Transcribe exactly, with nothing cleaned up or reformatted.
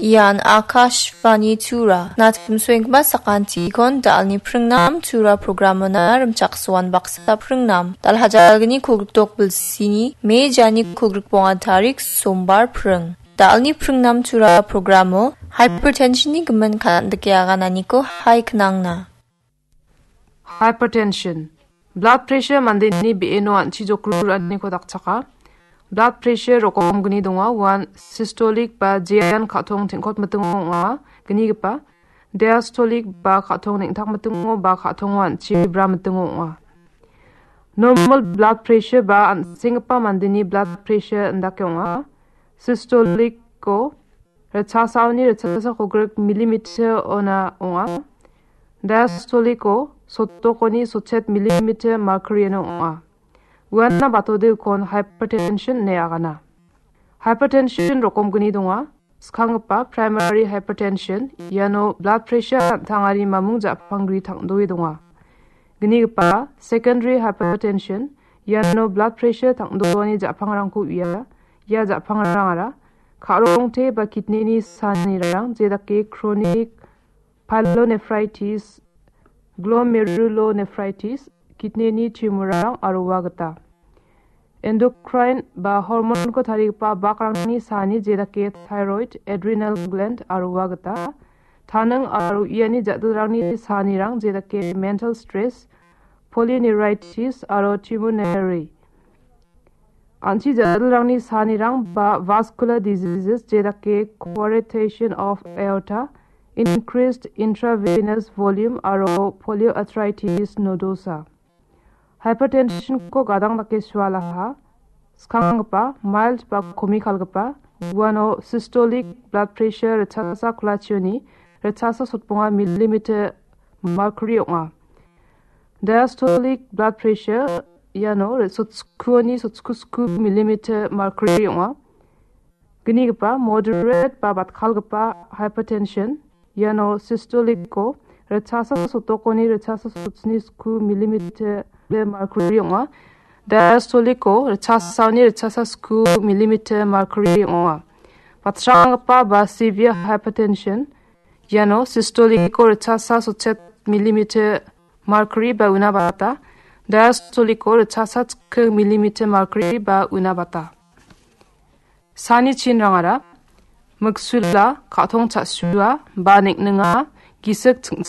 Ian Akashvani Tura. Natim suenggipa sakantikon da·alni pringnam Tura programona rimchaksoan baksa pringnam. Dal hajalgni kolgrikdok bilsini, me jani kolgrikbonga tarik sombar pring. Da·alni pringnam Tura programo hypertensionni gimin kan·dike agananiko hai knangna. Hypertension. Blood pressure mandeni be·eno an·chi jokru ra·aniko dakchaka. Blood pressure rokomgni donga. Uan systolic ba jean ka·tong teng·kot mitingo ong·a. Gnigipa diastolic ba ka·tong neng·tak mitingo ba ka·tongo an·chi bra mitingo ong·a. Normal blood pressure ba an·senggipa mandeni blood pressure indake ong·a. Systolico ritchasaoni ritchasa kolgrik millimeter ona ong·a. Diastolico sotokoni sotchet millimeter mercuryno ong·a. Uana batode ukon hypertension ine agana. Hypertension rokomgni donga. Skanggipa primary hypertension, iano blood pressure an·tangari mamung ja·panggri tang·doe donga. Gnigipa secondary hypertension, iano blood pressure tang·doani ja·pangrangko uia. Ia ja·pangrangara ka·rongte ba kidneyni sanirang, jedake chronic pyelonephritis, glomerulonephritis, kidneyni tumorrang aro ua gita. Endocrine ba hormonko tarigipa bakrangni sani jedake thyroid, adrenal gland aro ua gita. Taning aro iani ja·dilrangni sanirang jedake mental stress, polyneuritis aro tumor nephri. An·chi ja·dilrangni sanirang ba vascular diseases jedake coarctation of aorta, increased intravenous volume aro polyarthritis nodosa. Hypertensionko gadang dake sualaha, skanggipa, mild ba komikalgipa, uano systolic blood pressure ritchasa kolachioni ritchasa sotbonga millimeter mercury ong·a. Diastolic blood pressure iano ri-, sotskuoni sotsku sku millimeter mercury ong·a. Gnigipa moderate ba batkalgipa hypertension iano systolico ritchasa sotokoni ritchasa sotsni sku millimeter mercury ong·a. Diastolico ritchasaoni ritchasa sku millimeter mercury ong·a. Batranggipa ba severe hypertension iano systolico ritchasa sotchet millimeter mercury ba una bata, diastolico ritchasa chikking millimeter mercury ba una bata. Sani chinrangara miksula, ka·tong cha·sua, ba ning·ninga, gisik ching-,